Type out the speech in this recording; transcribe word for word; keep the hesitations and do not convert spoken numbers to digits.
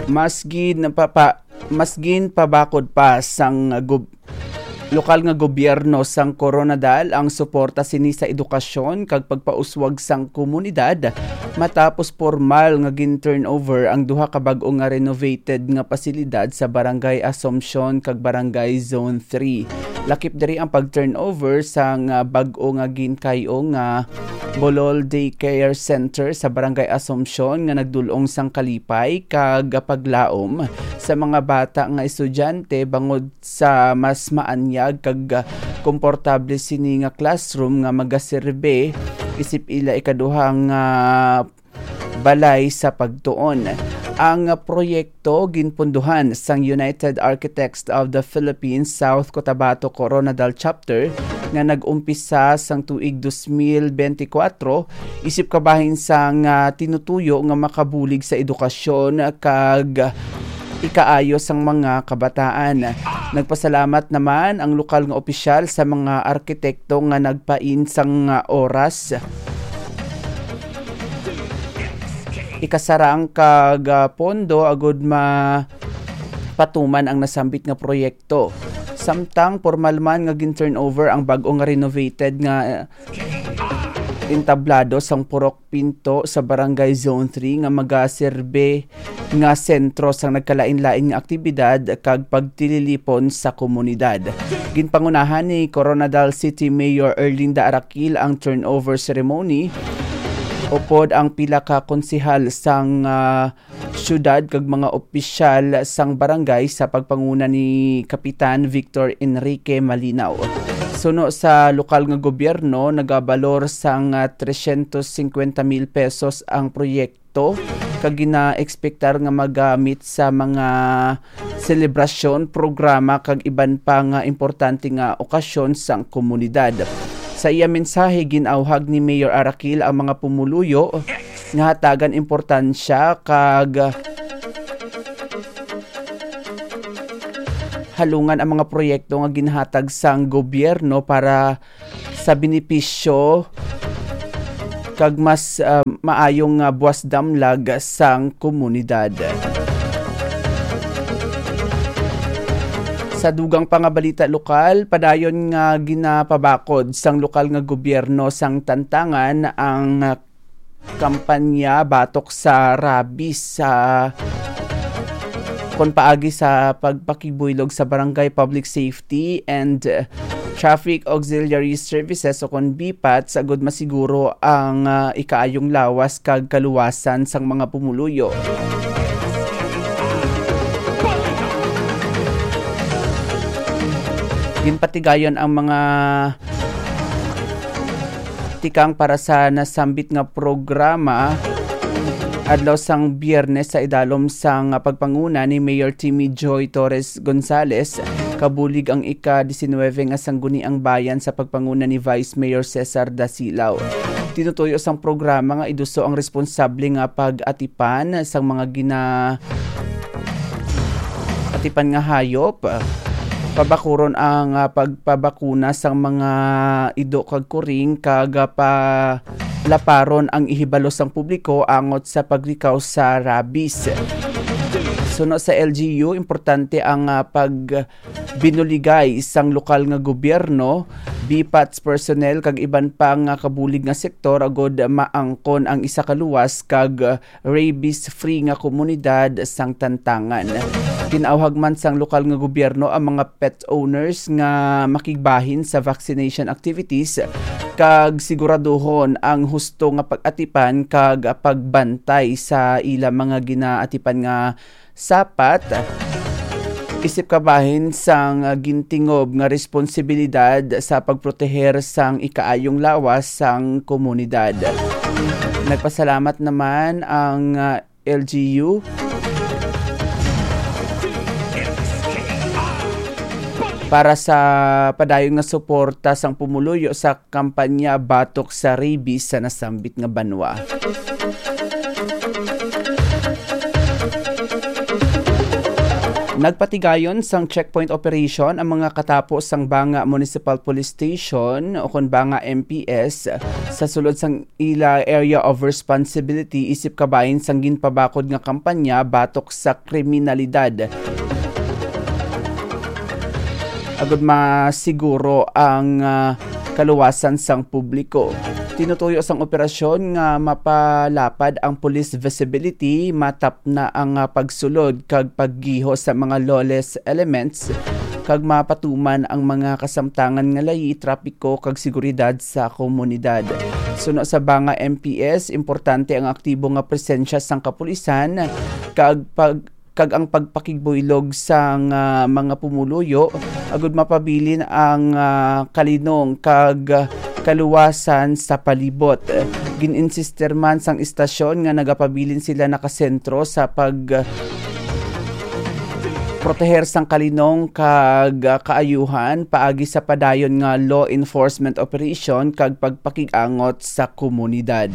Mas gin papa-, mas gin pabakod pa sang gob-, lokal nga gobyerno sang Koronadal ang suporta sini sa edukasyon kag pagpauswag sang komunidad matapos pormal nga gin-turnover ang duha ka bag-o nga renovated nga pasilidad sa Barangay Assumption kag Barangay Zone three. Lakip diri ang pag-turnover sang, ah, bag-o nga ginkay-o nga Bolol Daycare Center sa Barangay Assumption nga nagdul-ong sang kalipay kag paglaom sa mga bata nga estudyante bangod sa mas maanyag kag, ah, komportable sini nga classroom nga magaserbe isip ila ikaduha nga balay sa pagtuon. Ang proyekto ginpunduhan sang United Architects of the Philippines South Cotabato Koronadal Chapter nga nag-umpisa sang tuig dos mil benti kwatro, isip kabahin sang, ah, tinutuyo nga makabulig sa edukasyon kag ikaayo sang mga kabataan. Nagpasalamat naman ang lokal nga opisyal sa mga arkitekto nga nagpain sang, ah, oras, ikasarang kag, ah, pondo agud mapatuman ang nasambit nga proyekto. Samtang pormal man nga gin-turnover ang bag-o nga renovated nga, ah, entablado sang Purok Pinto sa Barangay Zone three nga magaserbe nga sentro sang nagkalain-lain nga aktibidad kag pagtililipon sa komunidad. Ginpangunahan ni Koronadal City Mayor Erlinda Araquil ang turnover ceremony, upod ang pila ka konsehal sang, ah, syudad kag mga opisyal sang barangay sa pagpanguna ni Kapitan Victor Enrique Malinaw. Suno sa lokal nga gobyerno, nagabalor sang, ah, tresyentos singkwenta mil pesos ang proyekto kag gina-ekspektar nga magamit sa mga selebrasyon, programa kag iban pa nga importante nga okasyon sang komunidad. Sa iya mensahe, gin-awhag ni Mayor Araquil ang mga pumuluyo nga hatagan importansya kag halungan ang mga proyekto nga ginhatag sang gobyerno para sa benepisyo kag mas, ah, maayong, ah, buwas damlag sang komunidad. Sa dugang pa nga balita lokal, padayon nga ginapabakod sang lokal nga gobyerno sang Tantangan ang kampanya batok sa rabies sa kon paagi sa pagpakibuylog sa Barangay Public Safety and Traffic Auxiliary Services o kon BPAT, sa gud masiguro ang, ah, ikaayong lawas kag kaluwasan sang mga pumuluyo. Ginpatigayon ang mga tikang para sa nasambit nga programa adlaw sang Biyernes sa idalom sang pagpanguna ni Mayor Timmy Joy Torres Gonzales, kabulig ang ika-disinwebe nga Sangguniang Bayan sa pagpanguna ni Vice Mayor Cesar Dasilao. Tinutuyo sang programa nga iduso ang responsable nga pag-atipan sang mga gina-, atipan nga hayop, pabakuron ang, ah, pagpabakuna sang mga ido kag kuring, kag, ah, palaparon ang ihibalo sang publiko angot sa paglikaw sa rabies. Suno sa L G U, importante ang, ah, pagbinuligay sang lokal nga gobyerno, BPATS personnel, kag iban pa nga kabulig nga sektor agud maangkon ang isa ka luwas kag rabies-free nga komunidad sang Tantangan. Gin-awhag man sang lokal nga gobyerno ang mga pet owners nga makigbahin sa vaccination activities kag siguraduhon ang husto nga pag-atipan kag pagbantay sa ila mga ginaatipan nga sapat, isip kabahin sang gintingob nga responsibilidad sa pagproteher sang ikaayong lawas sang komunidad. Nagpasalamat naman ang, ah, L G U para sa padayon nga suporta sang pumuluyo sa kampanya batok sa rabies sa nasambit nga banwa. Nagpatigayon sang checkpoint operation ang mga katapo sang Banga Municipal Police Station o kon Banga M P S sa sulod sang ila area of responsibility isip kabahin sang ginpabakod nga kampanya batok sa kriminalidad. Agud masiguro ang, ah, kaluwasan sang publiko. Tinutuyo sang operasyon nga mapalapad ang police visibility, matapna ang, ah, pagsulod kag paggiho sa mga lawless elements, kag mapatuman ang mga kasamtangan nga layi, trapiko kag seguridad sa komunidad. Suno sa Banga M P S, importante ang aktibo nga presensya sang kapulisan kag pag kag ang pagpakigbuylog sang, ah, mga pumuluyo, agud mapabilin ang, ah, kalinong kag, ah, kaluwasan sa palibot. Gin-insistir man sang istasyon nga nagapabilin sila nakasentro sa pag, ah, proteher sang kalinong kag, ah, kaayuhan paagi sa padayon nga law enforcement operation kag pagpakig-angot sa komunidad.